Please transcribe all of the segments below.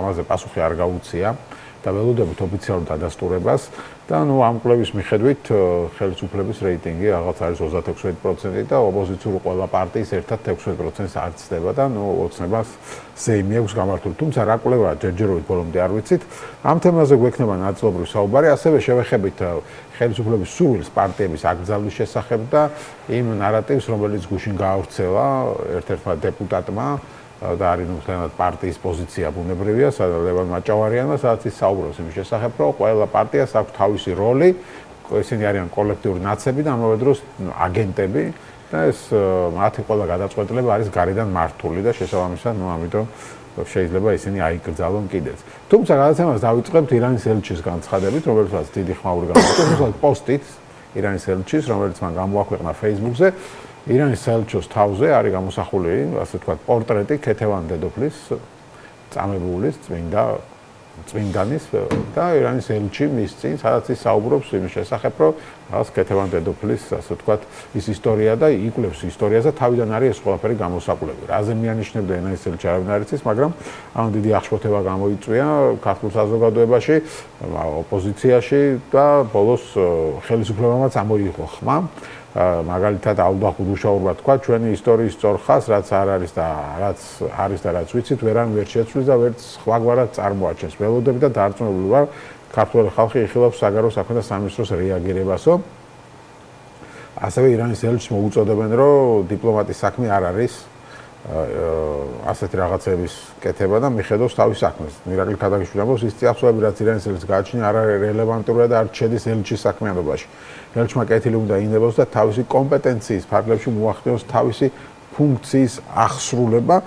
ამაზე პასუხი არ გაუწია და ველოდებით ოფიციალურ დადასტურებას და ამ კვლევის მიხედვით ხელისუფლების რეიტინგი რაღაც არის 36% და ოპოზიციური ყველა პარტიის ერთად 16%-ს არ ცდება და ოცნებას ზეიმი აქვს გამართული. თუმცა რა კვლევაა ჯერჯერობით ბოლომდე არ ვიცით. ამ თემაზე გვექნება ნაწილობრივ საუბარი, ასევე შევეხებით ხელისუფლების სურვილს პარტიების აკრძალვის შესახებ და იმ ნარატივს, რომელიც გუშინ გაავრცელა ერთ-ერთმა დეპუტატმა და არის მთლიანად პარტიის პოზიცია ბუნებრივია, ლევან მაჭავარიანმა, სადაც ის საუბრობს იმის შესახებ, რომ ყველა პარტიას აქვს თავისი როლი, ისინი არიან კოლექტიური ნაცები და ამავე დროს აგენტები და ეს მათი ყველა გადაწყვეტილება არის გარედან მართული და შესაბამისად, ამიტომ შეიძლება ისინი აიკრძალონ კიდეც. თუმცა გადაცემას დავიწყებთ ირანის ელჩის განცხადებით, რომელსაც დიდი ხმაური გამოიწვია პოსტით ირანის ელჩის, რომელიც მან გამოაქვეყნა Facebook-ზე. ირანის ელჩოს თავზე არის გამოსახული, ასე ვთქვათ, პორტრეტი ქეთევან დედოფლის, წამებულის, წმინდანის და ირანის ელჩი მის წინ, სადაც ის საუბრობს იმის შესახებ, რომ რაღაც ქეთევან დედოფლის, ასე ვთქვათ, ის ისტორია და იკვლევს ისტორიას და თავიდან არის ეს ყველაფერი გამოსაკვლევი. რაზე მიანიშნებდა ირანის ელჩი არავინ არ იცის, მაგრამ ამ დიდი აღშფოთება გამოიწვია ქართულ საზოგადოებაში, ოპოზიციაში და ბოლოს ხელისუფლებამაც ამოიღო ხმა. მაგალითად აუდა ხუდუშაურმა თქვა ჩვენი ისტორიის სწორხას რაც არ არის და რაც არის და რაც ვიცით ვერან ვერ შეცვლის და ვერც სხვაგვარად წარმოაჩენს ველოდები და დარწმუნებული ვარ ქართული ხალხი იხილავს საგარეო საქმეთა სამინისტროს რეაგირებასო ასევე ირანის ელჩს მოუწოდებენ რომ დიპლომატის საქმე არ არის ასეთი რაღაცების კეთება და მიხედავს თავის საქმეს. მირაკლი ქადაგიშვილი ამბობს ის წიაღწევები რაც ირანის ელჩს გააჩნია არ არის რელევანტურია და არ შედის ელჩის საქმიანობაში. ელჩმა კეთილი უნდა ინებოს და თავისი კომპეტენციის ფარგლებში მოახდინოს თავისი ფუნქციის აღსრულება.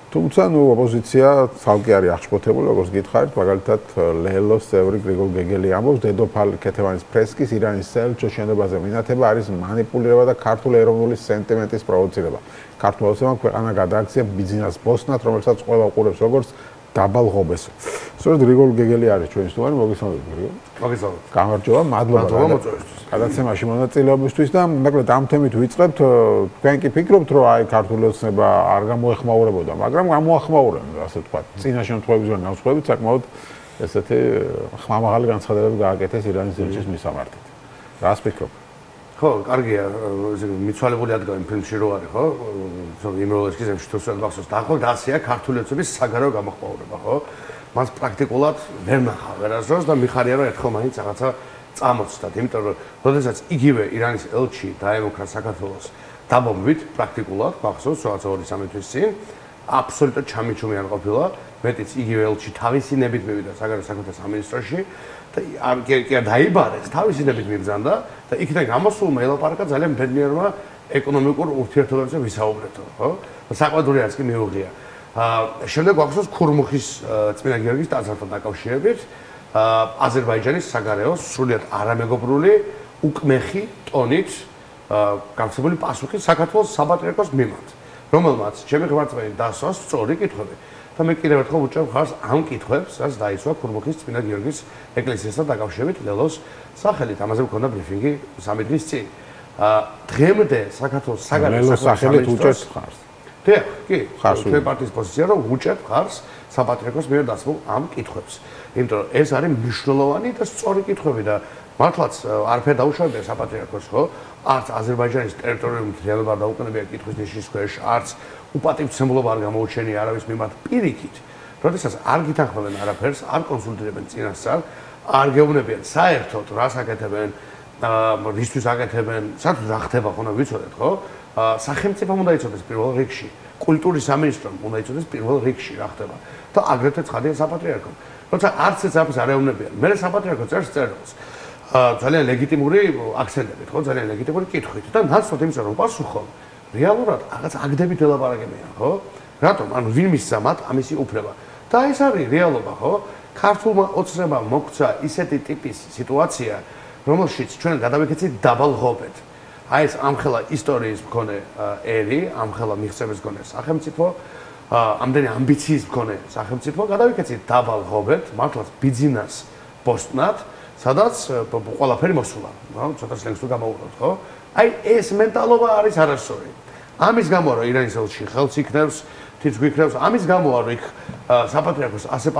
თუმცა ოპოზიცია ცალკე არის აღშფოთებული, როგორც გითხარით, მაგალითად ლელოს წევრი გრიგოლ გეგელი ამბობს, დედოფალ ქეთევანის ფრესკის ირანის ელჩოს შენობაზე მინათება არის მანიპულირება და ქართული ეროვნული სენტიმენტის პროვოცირება. ქართულ ოცნებამ ქვეყანა გადააქცია ბიზნეს ბოსნად, რომელსაც ყველა უყურებს როგორც დაბალ ღობესო. სწორედ გრიგოლ გეგელი არის ჩვენი სტუმარი, მოგესალმებით გრიგოლ. მოგესალმებით. გამარჯობა, მადლობა მოწვევისთვის. გადაცემაში მონაწილეობისთვის და მოკლედ ამ თემით ვიწყებთ. თქვენ კი ფიქრობთ, რომ აი ქართული ოცნება არ გამოეხმაურებოდა, მაგრამ გამოახმაურებდა, ასე ვთქვათ. წინა შემთხვევებიდან განსხვავებით, საკმაოდ ესეთი ხმამაღალი განცხადებები გააკეთეს ირანის ელჩის მისამართით. რას ფიქრობ? ხო, კარგია, მიცვალებული ადგილი ფილმში რო არის, ხო? იმროლეშკის ზემში თუ სწორად გახსოვს, დაახლოებით ასეა ქართული ოცნების საგარეო გამოხმაურება, ხო? მას პრაქტიკულად ვერ ნახა ვერასდროს და მიხარია რომ ერთხელ მაინც რაღაცა წამოწდათ, იმიტომ რომ როდესაც იგივე ირანის ელჩი დაემუქრა საქართველოს დაბომბვით პრაქტიკულად, გახსოვს რაღაც 2-3 თვის წინ, აბსოლუტურად ჩამიჩუმი არ ყოფილა, მეტიც იგივე ელჩი თავისი ნებით მივიდა საგარეო საქმეთა სამინისტროში და კი დაიბარეს, თავისი ნებით მიბრძანდა და იქიდან გამოსულმა ელაპარაკა ძალიან ბედნიერმა ეკონომიკურ ურთიერთობებზე ვისაუბრეთო, ხო? საყვედური რაც კი მიუღია. შემდეგ გვახსოვს ქურმუხის წმინდა გიორგის ტაძართან დაკავშირებით აზერბაიჯანის საგარეო სრულიად არამეგობრული უკმეხი ტონით გამცემული პასუხი საქართველოს საპატრიარქოს მიმართ, რომელმაც ჩემი ღმერთმენი დასვა სწორი კითხვები და მე კიდევ ერთხელ ვუჭერებ ხარს ამ კითხვებს, რაც დაისვა ქურმუხის წმინდა გიორგის ეკლესიასთან დაკავშირებით ლელოს სახელით. ამაზე მქონდა ბრიფინგი 3 დღის წინ. დღემდე საქართველოს საგარეო სახელით უჭერთ ხარს. კი, თქვენ პარტიის პოზიცია რომ უჭერთ ხარს საპატრიარქოს მიერ დასმულ ამ კითხვებს. იმიტომ რომ ეს არის მნიშვნელოვანი და სწორი კითხვები და მართლაც არაფერ დაუშვებია საპატრიარქოს, ხო? არც აზერბაიჯანის ტერიტორიული მთლიანობა არ დაუკნებია კითხვის ნიშნის ქვეშ, არც უპატივცემულობა არ გამოუჩენია არავის მიმართ პირიქით. როდესაც არ გითანხმებენ არაფერს, არ კონსულტირებენ წინასწარ, არ გეუბნებიან საერთოდ რას აკეთებენ, რისთვის აკეთებენ, საერთოდ რა ხდება ხონა ვიცოდეთ, ხო? სახელმწიფომ უნდა იცოდეს პირველ რიგში, კულტურის სამინისტრომ უნდა იცოდეს პირველ რიგში რა ხდება და აგრეთვე ცხადია საპატრიარქომ. როცა არც ეს არის არ ეუბნებიან. მე საპატრიარქო წერს წერილს. ძალიან ლეგიტიმური აქცენტებით, ხო? ძალიან ლეგიტიმური კითხვით და ნაცვლად იმისა რომ პასუხო რეალურად რაღაც აგდებით ელაპარაკებიან, ხო? რატომ? ანუ ვინ მისცა მათ ამისი უფლება? და ეს არის რეალობა, ხო? ქართულმა ოცნებამ მოგვცა ისეთი ტიპის სიტუაცია, რომელშიც ჩვენ გადავიქცეთ დაბალ ღობედ. აი ეს ამხელა ისტორიის მქონე ერი, ამხელა მიღწევის მქონე სახელმწიფო, ამდენი ამბიციის მქონე სახელმწიფო გადავიქცეთ დაბალ ღობედ, მართლაც ბიზნეს ბოსტნად, სადაც ყველაფერი მოსულა, რა, ცოტა სლენგს თუ გამოვუყოთ, ხო? აი ეს მენტალობა არის არასწორი. ამის გამო რომ ირანის ელჩი ხელს იქნევს, თითქმის გვიქნევს, ამის გამო რომ იქ საპატრიარქოს ასე